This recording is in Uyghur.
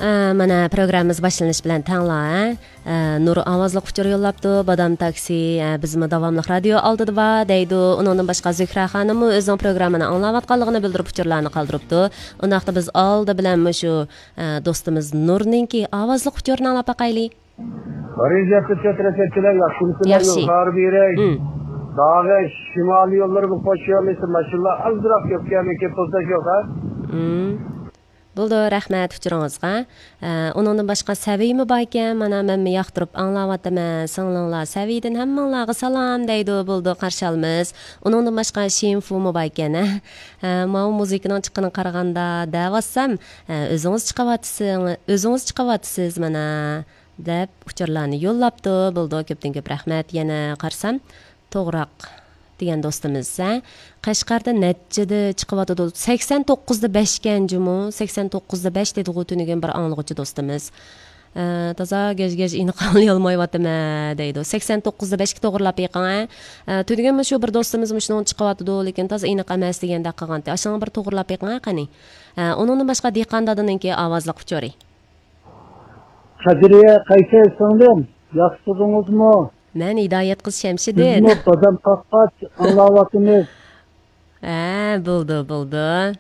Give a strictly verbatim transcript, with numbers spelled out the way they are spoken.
ئە، مانا، پروگراممىمىز باشلىنىش بىلەن تەڭلا، ئە، ئە، نۇر ئاۋازلىق ئۇچۇر يوللاپتۇ. بادام تاكسى، ئە، بىزمۇ داۋاملىق رادىيو ئالدىدا بار دەيدۇ. ئۇنىڭدىن باشقا زۆھرە خانىممۇ ئۆزىنىڭ پروگراممىنى ئاڭلاۋاتقانلىقىنى بىلدۈرۈپ ئۇچۇرلارنى قالدۇرۇپتۇ. ئۇنداقتا بىز ئالدى بىلەن مۇشۇ، ئە، دوستىمىز نۇرنىڭكى ئاۋازلىق ئۇچۇرىنى ئاڭلاپ باقايلى. بىرىنچى ھەپتە چەت رەسەتچىلەر ياخشىمۇسىلەر؟ ياخشى. يول خار بېرەي. ھىم. داغە شىمالىي يوللىرىمىز قوش يوللىسى ماشىنىلار ئازراق كۆپ كەلمىكى پۇرسەت يوق ھە؟ ھىم. بولدى، رەھمەت ئۇچۇرىڭىزغا. ئە، ئۇنىڭدىن باشقا سەۋىيمۇ باركەن، مانا مەنمۇ ياقتۇرۇپ ئاڭلاۋاتىمەن. سىڭلىڭلار سەۋىيدىن ھەممىڭلارغا سالام دەيدۇ، بولدى، قارشى ئالىمىز. ئۇنىڭدىن باشقا شىنفۇمۇ باركەن، ھە. ئە، ماۋۇ مۇزىكىنىڭ چىققىنىغا قارىغاندا دەۋاتسام، ئە، ئۆزىڭىز چىقىۋاتىسىڭ-، ئۆزىڭىز چىقىۋاتىسىز مانا. دەپ ئۇچۇرلارنى يوللاپتۇ. بولىدۇ، كۆپتىن كۆپ رەھمەت. يەنە قارىسام، توغراق دېگەن دوستىمىز، ھە؟ قەشقەردە نەچچىدە چىقىۋاتىدۇ؟ سەكسەن توققۇزدا بەشكەن جۇمۇ، سەكسەن توققۇزدا بەش دېدىغۇ تۈنۈگۈن بىر ئاڭلىغۇچى دوستىمىز. ئە، تازا گەج-گەج ئېنىق ئاڭلىيالمايۋاتىمەن دەيدۇ. سەكسەن توققۇزدا بەشكە توغرىلاپ بېقىڭ، ھە؟ ئە، تۈنۈگۈن مۇشۇ بىر دوستىمىز مۇشۇنىڭ چىقىۋاتىدۇ، لېكىن تازا ئېنىق ئەمەس دېگەندەك قىلغانتى. ئاشۇنىڭغا بىر توغرىلاپ بېقىڭ، ھە، قېنى. ئە، ئۇنىڭدىن باشقا دېھقان دادىنىڭكى ئاۋازلىق ئۇچۇرى. قەدرىيە قايسى سىڭلىم؟ ياخشى تۇردىڭىزمۇ؟ مەن ھىدايەت قىز شەمشىدىن. بىزمۇ بادام قاققاچ ئاڭلاۋاتىمىز. ھە، بولدى، بولدى.